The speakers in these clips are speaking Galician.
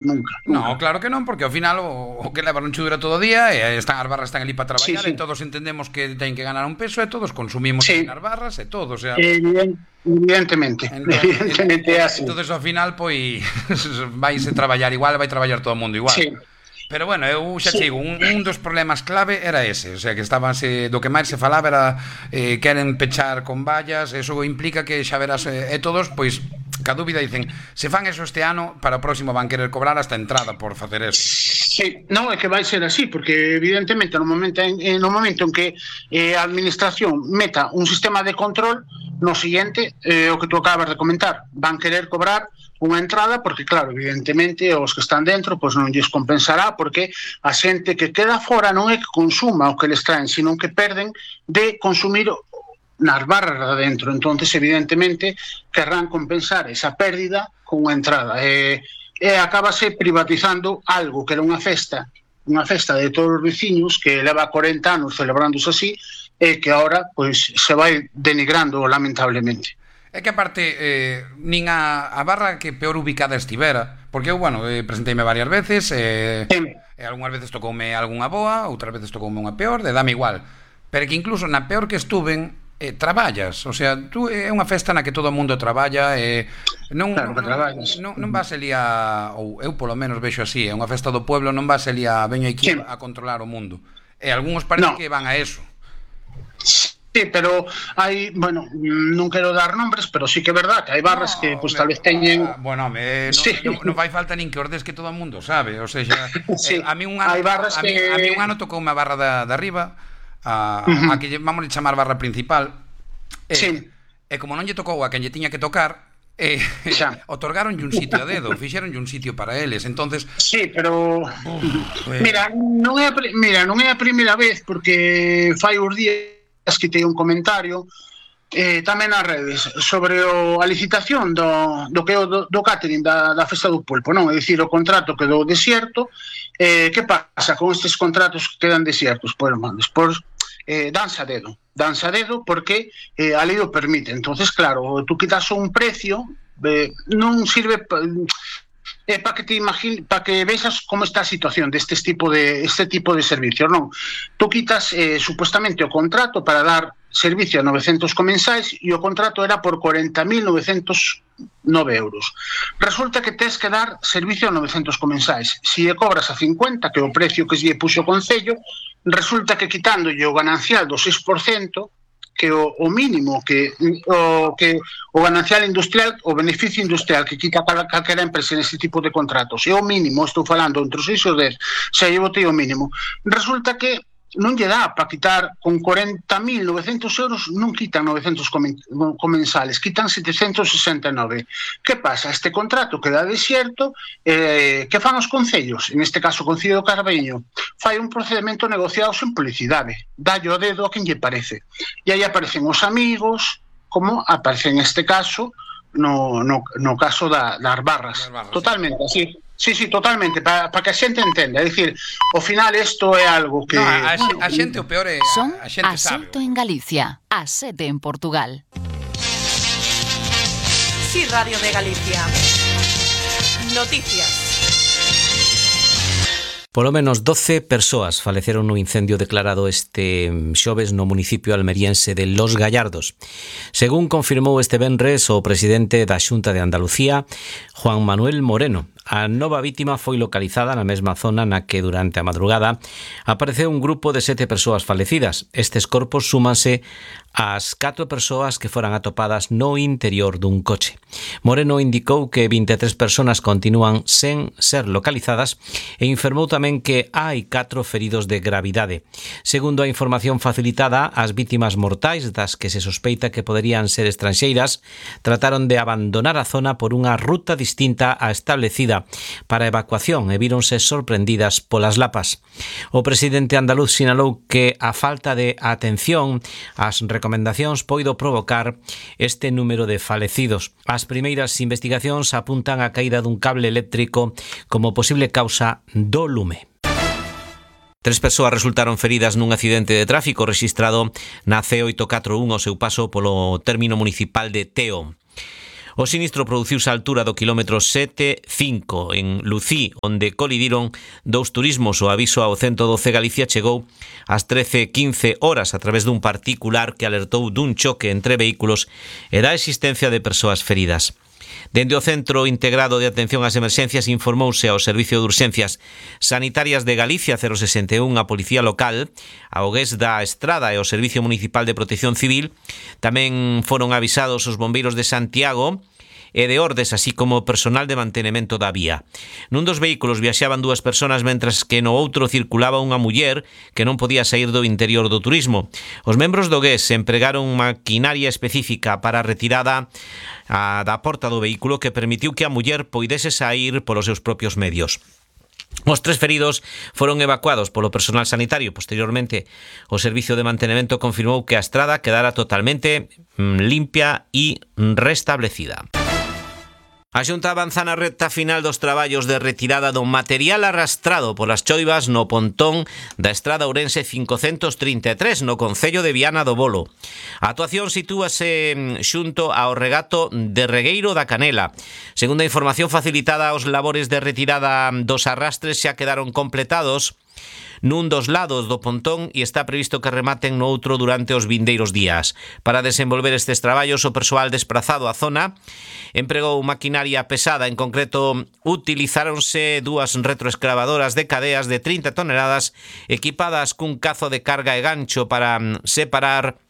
nunca, No, nunca. claro que non, porque ao final o que leva non che dura todo o día e as barras están ali para Sí, traballar e sí, todos entendemos que teñen que ganar un peso e todos consumimos ali sí, nas barras e todo, o sea, evidentemente, evidentemente é así. entonces ao final pois vaise traballar igual, vai traballar todo o mundo igual. Sí, Pero bueno, eu xa sí, che digo, un dos problemas clave era ese, o sea, que do que máis se falaba era queren pechar con vallas, eso implica que xa verás todos, pois ca dúbida dicen, se fan eso este ano, para o próximo van querer cobrar hasta entrada por facer eso. sí, non é que vai ser así, porque evidentemente no momento en que a administración meta un sistema de control, no siguiente, o que tú acabas de comentar, van querer cobrar unha entrada, porque claro, evidentemente os que están dentro pois non lles compensará, porque a xente que queda fora non é que consuma o que les traen, sino que perden de consumir nas barras de adentro. Entonces, evidentemente, querrán compensar esa pérdida con unha entrada. Acabase privatizando algo que era unha festa de todos os veciños que leva 40 anos celebrándose así e que ahora pois se vai denigrando lamentablemente. É que aparte nin a barra que peor ubicada estivera, porque eu, bueno, presenteime varias veces e algunhas veces tocoume algunha boa, outras veces tocoume unha peor, dame igual, pero que incluso na peor que estuven traballas, o sea, tú é unha festa na que todo o mundo traballa non, Claro que traballas. non vas ali ou eu polo menos vexo así, é unha festa do pueblo, non vas ali veño aquí Sí. a controlar o mundo, e algúns parece No. que van a eso. Sí, pero hai, bueno, non quero dar nombres, pero sí que é verdad que hai barras que No, pues, tal vez teñen... bueno, Sí. non fai falta nin que ordes que todo o mundo sabe, o sea, Sí. a mí un ano Hai barras a mí que... un ano tocou unha barra de arriba, a que vamos a chamar barra principal. Sí. E como non lle tocou a quen lle tiña que tocar, Xa. otorgaronlle un sitio a dedo, fixeronlle un sitio para eles. Entonces, Sí, pero mira, non é a primeira vez, porque fai uns días que teño un comentario tamén nas redes sobre a licitación do que é do catering da festa do pulpo, non? É dicir, o contrato quedou desierto. Que pasa con estes contratos que quedan desiertos? Pois, despois danse a dedo porque a lei o permite. Entonces, claro, tú quitas un precio, non sirve para que te imagines, para que vexas como está a situación este tipo de servicios, non? Tú quitas supuestamente o contrato para dar servicio a 900 comensais e o contrato era por 40.909 euros. Resulta que tes que dar servicio a 900 comensais. Si e cobras a 50, que é o precio que lle puxo o Concello, resulta que quitándolle o ganancial do 6%, que o mínimo que o ganancial industrial, o beneficio industrial que quita calquera empresa neste tipo de contratos, é o mínimo, estou falando entre os 6 e os 10, xa lle botei o mínimo. Resulta que non lle dá para quitar con 40.900 euros, non quitan 900 comensales, quitan 769. Que pasa? Este contrato queda desierto, que fan os concellos? En este caso, o Concello do Carballiño fai un procedimento negociado sen publicidade, dalle o dedo a quen lle parece. E aí aparecen os amigos, como aparece en este caso, no caso das barras. Totalmente, así. Sí, totalmente, para que a xente entenda. É dicir, ao final isto é algo que... no, a xente o peor é Son a xente sabe. A6 en Galicia, A7 en Portugal. Sí, Radio de Galicia. Noticias. Polo menos 12 persoas faleceron no incendio declarado este xoves no municipio almeriense de Los Gallardos. Según confirmou este venres o presidente da Xunta de Andalucía, Juan Manuel Moreno, a nova vítima foi localizada na mesma zona na que durante a madrugada apareceu un grupo de 7 persoas falecidas. Estes corpos súmanse ás 4 persoas que foran atopadas no interior dun coche. Moreno indicou que 23 persoas continúan sen ser localizadas e informou tamén que hai 4 feridos de gravidade. Segundo a información facilitada, as vítimas mortais, das que se sospeita que poderían ser estranxeiras, trataron de abandonar a zona por unha ruta distinta á establecida para a evacuación e víronse sorprendidas polas lapas. O presidente andaluz sinalou que a falta de atención ás recomendacións poido provocar este número de falecidos. As primeiras investigacións apuntan a caída dun cable eléctrico como posible causa do lume. 3 persoas resultaron feridas nun accidente de tráfico rexistrado na C841 ao seu paso polo término municipal de Teo. O sinistro produciuse á altura do quilómetro 7,5 en Lucí, onde colidiron dous turismos. O aviso ao 112 Galicia chegou ás 13:15 horas a través dun particular que alertou dun choque entre vehículos e da existencia de persoas feridas. Dende o Centro Integrado de Atención ás Emerxencias informouse ao Servicio de Urxencias Sanitarias de Galicia 061, a Policía Local, a OGES da Estrada e o Servicio Municipal de Protección Civil. Tamén foron avisados os bombeiros de Santiago e de Ordes, así como personal de mantenimento da vía. Nun dos vehículos viaxaban 2 persoas, mentras que no outro circulaba unha muller que non podía sair do interior do turismo. Os membros do GES empregaron maquinaria específica para a retirada da porta do vehículo, que permitiu que a muller poidese sair polos seus propios medios. Os 3 feridos foron evacuados polo personal sanitario. Posteriormente, o Servicio de Mantenimento confirmou que a estrada quedara totalmente limpia e restablecida. A Xunta avanza na recta final dos traballos de retirada do material arrastrado polas choivas no pontón da estrada Ourense 533 no concello de Viana do Bolo. A actuación sitúase xunto ao regato de Regueiro da Canela. Segundo a información facilitada, os labores de retirada dos arrastres xa quedaron completados nun dos lados do pontón e está previsto que rematen no outro durante os vindeiros días. Para desenvolver estes traballos, o persoal desprazado á zona empregou maquinaria pesada. En concreto, utilizáronse 2 retroescavadoras de cadeas de 30 toneladas equipadas cun cazo de carga e gancho para separar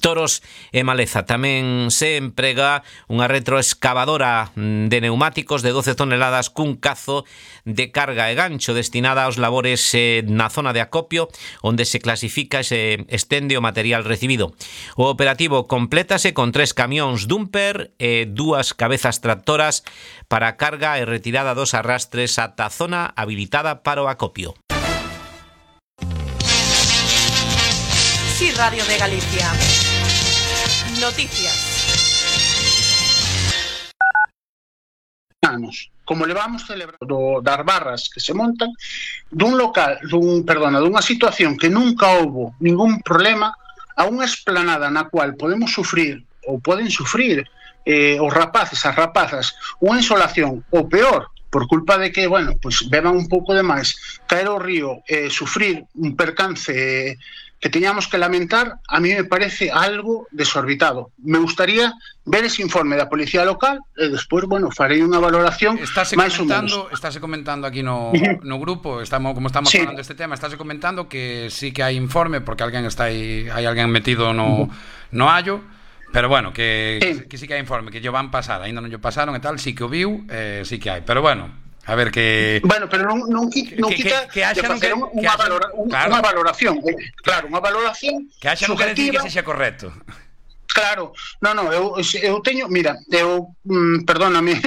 toros e maleza. Tamén se emprega unha retroescavadora de neumáticos de 12 toneladas cun cazo de carga e gancho destinada aos labores na zona de acopio, onde se clasifica e se estende o material recibido. O operativo complétase con 3 camións dumper e 2 cabezas tractoras para a carga e retirada dos arrastres ata a zona habilitada para o acopio. Sí, Radio de Galicia. Noticias. Como levamos celebrando das barras que se montan dunha situación que nunca houbo ningún problema, a unha esplanada na cual podemos sufrir ou poden sufrir os rapaces, as rapazas, unha insolación, ou peor, por culpa de que, pues beban un pouco de máis, caer ao río, sufrir un percance que teñamos que lamentar, a mí me parece algo desorbitado. Me gustaría ver ese informe da Policía Local e despois, farei unha valoración máis ou menos. Estáse comentando aquí no grupo, como estamos falando deste tema, estáse comentando que sí que hai informe, porque hai alguén metido no hallo, pero que sí que hai informe, que yo van pasar, ainda non yo pasaron e tal, sí que o viu, sí que hai, pero a ver que... pero non quita de facer unha valoración. Claro, unha valoración que haxa non quere dicir que sexa correcto. Claro, eu teño, mira, perdóname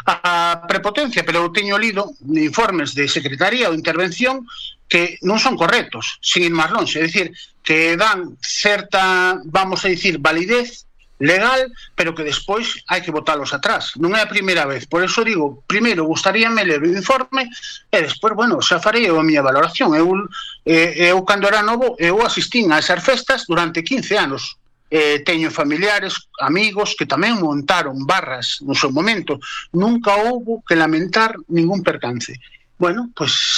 a prepotencia, pero eu teño lido informes de Secretaría ou Intervención que non son correctos, sin ir máis longe, é dicir, que dan certa, vamos a dicir, validez legal, pero que despois hai que botalos atrás. Non é a primeira vez. Por eso digo, primeiro gustaríame ler o informe e despois, xa farei a miña valoración. Eu cando era novo, eu asistín a esas festas durante 15 anos. Teño familiares, amigos que tamén montaron barras no seu momento. Nunca houbo que lamentar ningún percance. Pues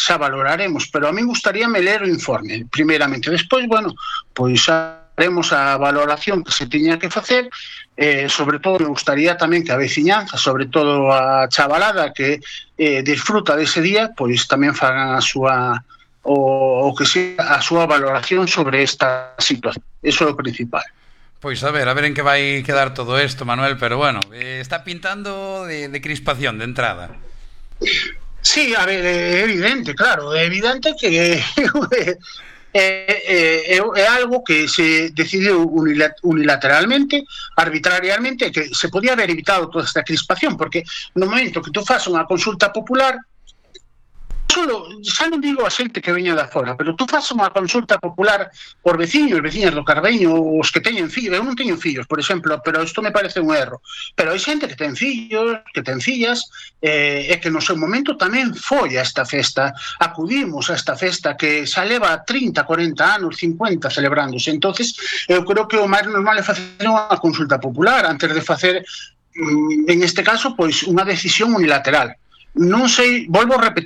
xa valoraremos, pero a mí gustaríame ler o informe, primeiramente. Despois, haremos a valoración que se tiña que facer, sobre todo me gustaría tamén que a veciñanza, sobre todo a chavalada que disfruta dese día, pois tamén fagan a súa valoración sobre esta situación. Eso é o principal. Pois a ver en que vai quedar todo isto, Manuel, pero está pintando de crispación de entrada. Sí, a ver, é evidente, claro, é evidente que é algo que se decidiu unilateralmente, arbitrariamente, que se podía haber evitado toda esta crispación, porque no momento que tú fas unha consulta popular, xa non digo a xente que veña da fora, pero tú fas unha consulta popular por veciños, veciñas do Carbeño, os que teñen fillos. Eu non teño fillos, por exemplo, pero isto me parece un erro. Pero hai xente que ten fillos, que ten fillas, e que no seu momento tamén foi a esta festa. Acudimos a esta festa que xa leva 30, 40 anos, 50 celebrándose. Entonces, eu creo que o máis normal é facer unha consulta popular antes de facer en este caso, pois unha decisión unilateral. Non sei, volvo a repetir,